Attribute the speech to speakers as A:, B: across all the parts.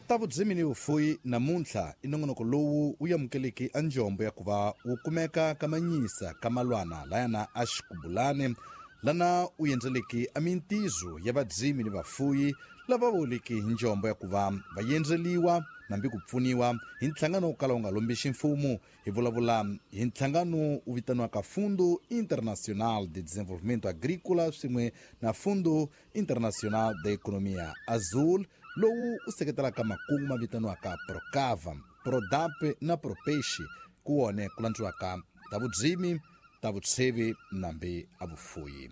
A: Ta vudzimi ni vufuyi namuntlha i nongonoko lowu wu amukeleki a njombo ya ku va wu kumeka ka manyisa ka malwana layana a xikubulane lana u endzeleki a mintizo ya vadzimi ni vafuyi lava voleki hi njombo ya ku va va yendzeliwa nambi ku pfuniwa hi nhlangano wo kala wu nga lombixi mfumo. Hi vulavula hi nhlangano wu vitaniwaka Fundo Internacional de Desenvolvimento Agrícola swin'we na Fundo Internacional de Economia Azul, lowu wu seketelaka makungu ma vitaniwaka Procava, Prodap na Propeixe, ku wone ku landziwaka ta vudzimi, ta vutshevi nambi a vufuyi.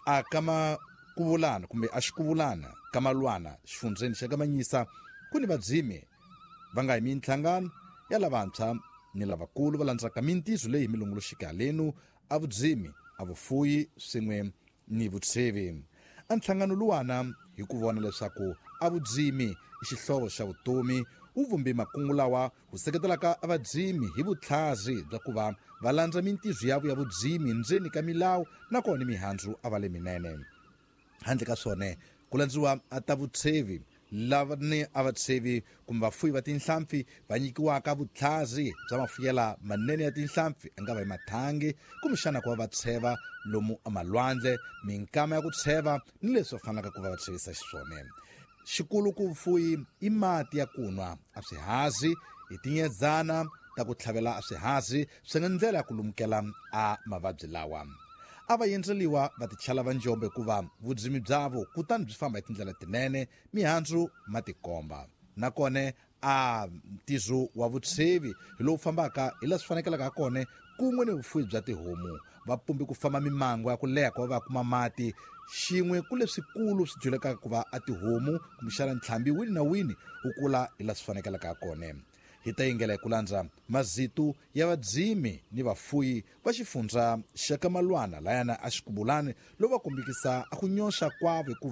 A: A kama kuvulana kumbe a xikuvulana ka malwana xifundzeni xa ka Manyisa ku ni vadzimi va nga hi minhlangano ya lavantshwa ni lavakulu va landzaka mintizo leyi hi milongoloxika lenu a vudzimi, a vufuyi swin'we ni vutshevi. A nhlangano luwana hi ku vona leswaku a vudzimi i xihlovo xa vutomi wu vumbe makungu lawa wu seketelaka a vadzimi hi vutlhazi bya ku va va landza mintizo yavo ya vudzimi ndzeni ka milawu nakona mihandzu a va le minene. Handle ka swona ku landziwa a ta vutshevi lava ni a vatshevi kumbe vafuyi va tinhlampfi va nyikiwaka vutlhazi bya mafuyela manene ya tinhlampfi a nga va hi mathangi kumbexana ku va va tsheva lomu emalwandle minkama ya ku tsheva ni leswi va fanelaka ku va va tshevisa xiswona. Xikulu ku vufuyi i mati ya ku nwa a swihazi hi tinyedzana ta ku tlhavela a swihazi swi nga ndlela ya ku lumukela a mavabyi lawa. A va yendzeliwa va tichala va njombo hikuva vudzimi byavo kutani byi famba hi tindlela tinene mihandzu ma tikomba. Nakona a ntizo wa vutshevi hi lowu fambaka hi laha swi fanekelaka ha kona kun'we ni vufuwi bya tihomu. Va pumbi ku famba mimango ya ku leha ku va va kuma mati xin'we ku leswikulu swi dyulekaka ku va a tihomu kumbexana ntlhambi wini na wini wu kula hi laha swi fanekelaka ha kona. Hi ta yingela hi ku landza mazitu ya vadzimi ni vafuyi va xifundza xa ka Malwana layana a xikubulani lowu va kombekisa a ku nyoxa kwavo hikuva